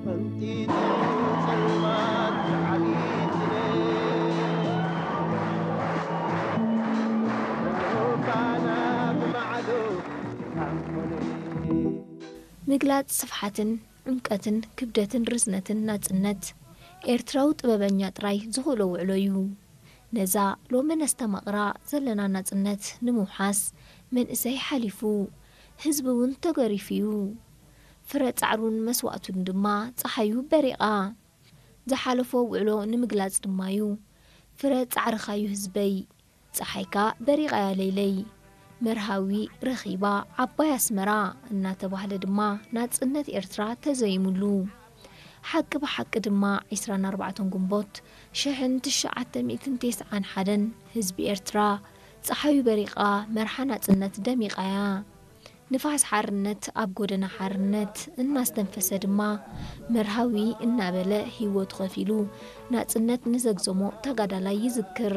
ፈንጢጡ ጸልማት ዓሊት ምግላጽ ስፍሓትን ዕምቀትን ክብደትን ርዝነትን ናጽነት ኤርትራዊ ጥበበኛ ጥራይ ዝኽእሎ ውዕሎ እዩ። ነዛ ሎሚ ነስተማቕራ ዘለና ናጽነት ንምውሓስ መንእሰይ ሓሊፉ፣ ህዝቢ እውን ተገሪፉ እዩ። ፍረ ጻዕሩን መስዋእቱን ድማ ጸሓዩ በሪቓ። ዝሓለፎ ውዕሎ ንምግላጽ ድማ እዩ። ፍረ ጻዕርኻዩ ህዝበይ፣ ጸሓይካ በሪቓያ ለይለይ፣ መርሃዊ ረኺባ ዓባይ ኣስመራ እናተባህለ ድማ ናጽነት ኤርትራ ተዘይሙሉ። ሓቂ ብሓቂ ድማ ዕስራን ኣርባዕተን ግንቦት ሽሕን ትሽዓተ ሚእትን ተስዓን ሓደን ህዝቢ ኤርትራ ጸሓዩ በሪቓ መርሓ ናጽነት ደሚቓያ። ንፋስ ሓርነት ኣብ ጎደና ሓርነት እናስተንፈሰ ድማ መርሃዊ እናበለ ህይወቱ ከፊሉ ናጽነት ንዘግዘሞ ተጋዳላይ ይዝክር።